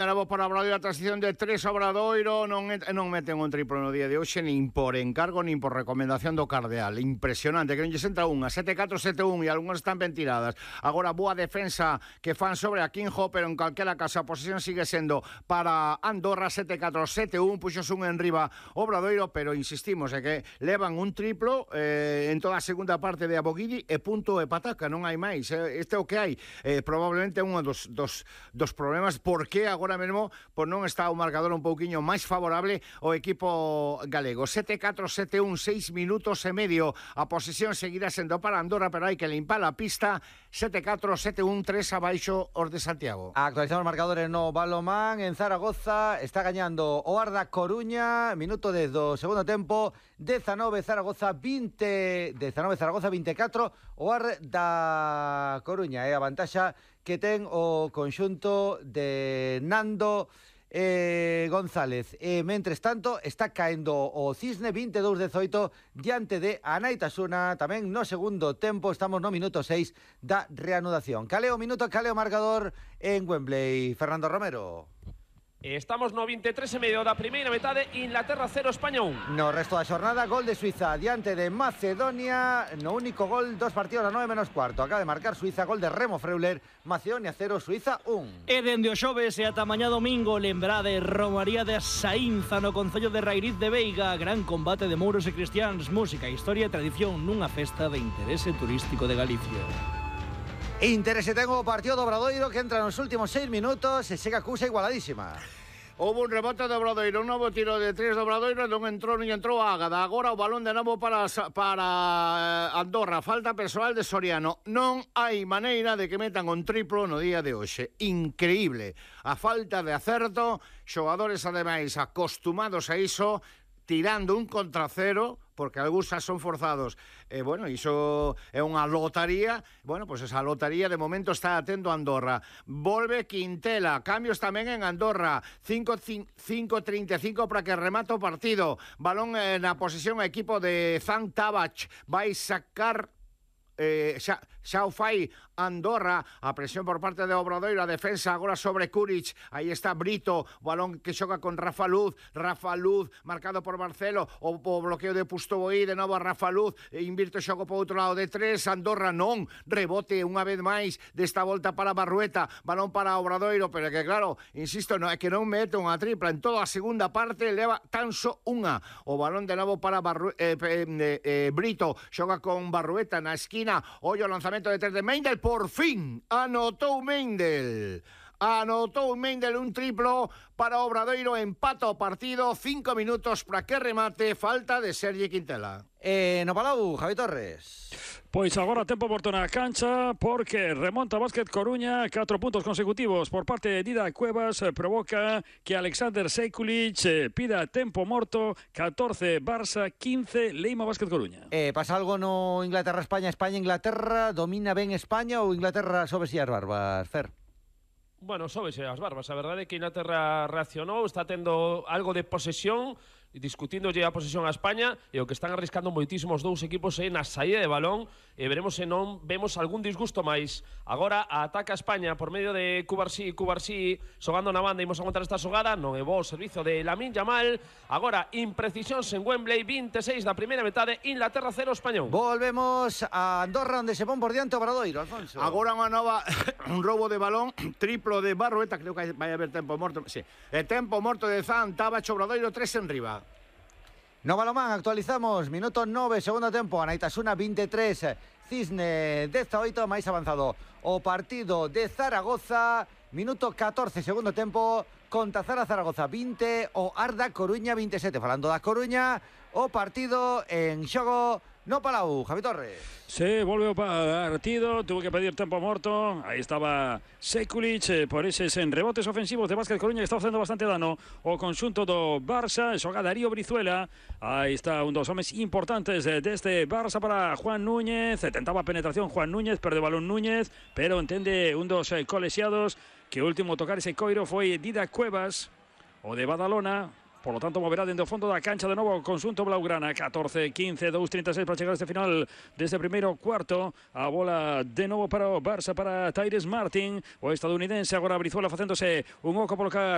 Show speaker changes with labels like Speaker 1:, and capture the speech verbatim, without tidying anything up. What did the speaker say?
Speaker 1: Bravo para Obradoiro, a transición de tres Obradoiro, non, non meten un triplo no día de hoxe, nin por encargo, nin por recomendación do Cardeal. Impresionante, que non lles entra unha, sete catro sete un, e algunhas están ben tiradas. Agora, boa defensa que fan sobre a Quinjo, pero en calquera caso a posición sigue sendo para Andorra, sete catro sete un, puxos un en riba Obradoiro, pero insistimos, é que levan un triplo eh, en toda a segunda parte de Aboguidi e punto e pataca, non hai máis. Este é o que hai. Eh, probablemente un dos, dos, dos problemas, porque agora Ahora mesmo, pois non está o marcador un pouquiño máis favorable o equipo galego. sete catro sete un, seis minutos e medio. A posesión seguirá sendo para Andorra, pero hai que limpar a pista. sete catro sete un, tres abaixo os de Santiago.
Speaker 2: Actualizamos marcadores no balonmán en Zaragoza. Está gañando o Arda Coruña, minuto dez do segundo tempo. dezanove Zaragoza vinte, dezanove Zaragoza veinticuatro o Arda Coruña. É a vantaxa que ten o conxunto de Nando eh, González. E, mentres tanto, está caendo o Cisne vinte e dous dezoito diante de Anaitasuna. Tamén no segundo tempo, estamos no minuto seis da reanudación. Caleo minuto, caleo marcador en Wembley. Fernando Romero.
Speaker 3: Estamos no vinte e tres e medio da primeira metade, Inglaterra cero, España un.
Speaker 2: No resto da xornada, gol de Suiza diante de Macedonia. No único gol, dos partidos a nove menos cuarto. Acaba de marcar Suiza, gol de Remo Freuler. Macedonia cero, Suiza un.
Speaker 4: E dende o xoves e ata mañá domingo, lembrade Romaría de Saínza no concello de Rairiz de Veiga. Gran combate de mouros e cristiáns, música, historia e tradición nunha festa de interese turístico de Galicia.
Speaker 2: Interese ten o partido do Obradoiro, que entra nos últimos seis minutos e chega a cousa igualadísima.
Speaker 1: Houve un rebote de Obradoiro, un novo tiro de tres de Obradoiro, non entrou, non entrou a Ágada. Agora o balón de novo para, para Andorra, falta persoal de Soriano. Non hai maneira de que metan un triplo no día de hoxe. Increíble. A falta de acerto, xogadores ademais acostumados a iso, tirando un contra cero, porque algúns xa son forzados. E, bueno, iso é unha lotaría. Bueno, pois pues esa lotaría de momento está atendo a Andorra. Volve Quintela. Cambios tamén en Andorra. cinco treinta e cinco para que remate o partido. Balón eh, na posesión a equipo de Zan Tabach. Vai sacar... Eh, xa, xa o fai Andorra, a presión por parte de Obradoiro, a defensa agora sobre Kuric, aí está Brito, balón que xoga con Rafa Luz, Rafa Luz marcado por Marcelo, o, o bloqueo de Pustoboí, de novo a Rafa Luz, e invirte o xogo por outro lado de tres, Andorra non, rebote unha vez máis desta volta para Barrueta, balón para Obradoiro, pero que claro, insisto, no, é que non mete unha tripla, en toda a segunda parte leva tan só unha, o balón de novo para Barru eh, eh, eh, Brito, xoga con Barrueta na esquina. Ollo o lanzamento de tres de Mendel, por fin anotou Mendel. Anotou Mendel un triplo para Obradoiro, empata o partido, cinco minutos para que remate, falta de Sergi Quintela.
Speaker 2: Eh, no Palau, Javi Torres.
Speaker 5: Pois agora tempo morto na cancha, porque remonta Básquet Coruña, catro puntos consecutivos por parte de Dida Cuevas, provoca que Alexander Sekulic eh, pida tempo morto. Catorce Barça, quince Leima Básquet Coruña.
Speaker 2: Eh, pasa algo no Inglaterra-España, España-Inglaterra, domina ben España ou Inglaterra sobes e as barbas, Fer?
Speaker 3: Bueno, sóbese as barbas. A verdade é que Inglaterra reaccionou, está tendo algo de posesión, discutíndolle a posesión a España, e o que están arriscando moitísimos dous equipos é na saída de balón, e veremos se non vemos algún disgusto máis. Agora ataca a España por medio de Cubarsí, Cubarsí xogando na banda, imos aguantar esta xogada, non é bo o servizo de Lamine Yamal. Agora imprecisións en Wembley, vinte e seis da primeira metade, Inglaterra cero, España un.
Speaker 2: Volvemos a Andorra, onde se pon por diante Obradoiro, Alfonso.
Speaker 1: Agora unha nova, un robo de balón, triplo de Barrueta, creo que vai haber tempo morto, sí. E tempo morto de Zan Tabach, Obradoiro tres en riba.
Speaker 2: No balonmán, actualizamos, minuto nove, segundo tempo, Anaitasuna vinte e tres, Cisne dezaoito, máis avanzado o partido de Zaragoza, minuto catorce, segundo tempo, Contazara Zaragoza vinte, o Arda Coruña vinte e sete. Falando da Coruña, o partido en xogo no Palau, Javi Torres.
Speaker 5: Se volve o partido, tuvo que pedir tempo morto. Aí estaba Sekulic, eh, por eses en rebotes ofensivos de Básquet Coruña, que está facendo bastante dano o conxunto do Barça. Xoga Darío Brizuela. Aí está un dos homes importantes deste Barça para Juan Núñez. Tentaba penetración Juan Núñez, perde o balón Núñez, pero entende un dos eh, colexiados que o último tocar ese coiro foi Dida Cuevas, o de Badalona. Por lo tanto, moverá dentro do fondo da cancha de novo o conxunto blaugrana. catorce, quince, dos treinta e seis para chegar a este final deste primeiro cuarto. A bola de novo para o Barça, para Tyrese Martin, o estadounidense. Agora Brizuela facéndose un oco polo